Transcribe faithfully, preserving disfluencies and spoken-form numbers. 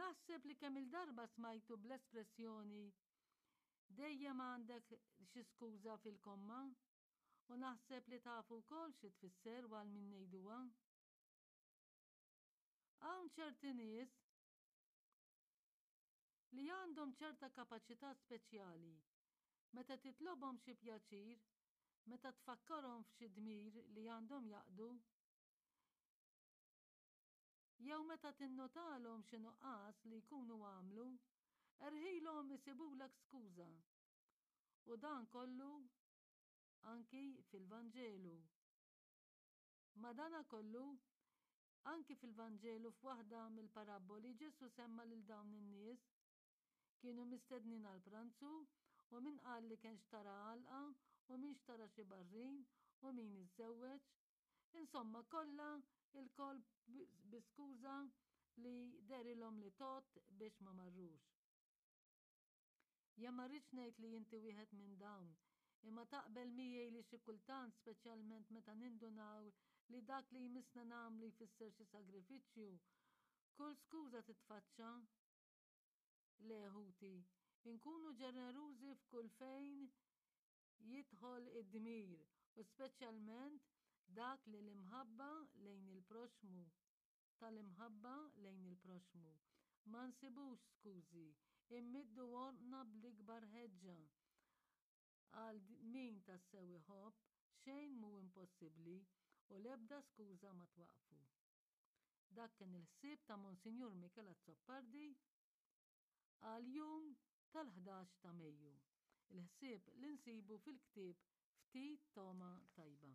Naħseb li kemm il-darba smajtu bl-espressjoni dejjem għandek xi skuża fil-komma u naħseb li tafu wkoll xi tfisser u għal min ngħiduha. Hawn ċerti nies li għandhom ċerta kapaċità speċjali meta titlobhom xi pjaċir, meta tfakkarhom f'xi dmir li għandhom jaqdu, jew meta tinnotalhom xi nuqqas li jkunu għamlu, erħilhom isibulek skuża. U dan kollu anki fil-Vanġelu. Madanakollu, anki fil-Vanġelu f'waħda mill-parabboli Ġesù semma lil dawn in-nies. Kienu mistednin għal pranzu u min qal li kien xtara għalqa u min xtara xi barrin u min iżżewweġ. Insomma, kollha ilkoll bi skuża li dehrilhom li tgħodd biex ma marrux. Jien ma rridx ngħid li inti wieħed minn dawn, imma taqbel miegħi li xi kultant, speċjalment meta nindunaw li dak li jmissna nagħmlu jfisser xi sagrifiċċju, kull skuża titfaċċa. Le ħuti, inkunu ġenerużi f'kull fejn jidħol id-dmir u speċjalment dak li l-imħabba lejn il-proxmu, tal-imħabba lejn il-proxmu. Ma nsibux skużi, immiddu għonqna bl-ikbar ħeġġa. Għal min tassew iħobb, xejn mhu impossibbli u l-ebda skuża ma twaqfu. Dak kien il-ħsieb ta' Monsinjur Michel Azzopardi għal jum tal-ħdax ta' Mejju. Il-ħsieb li nsibu fil-ktieb Ftit Togħma Tajba.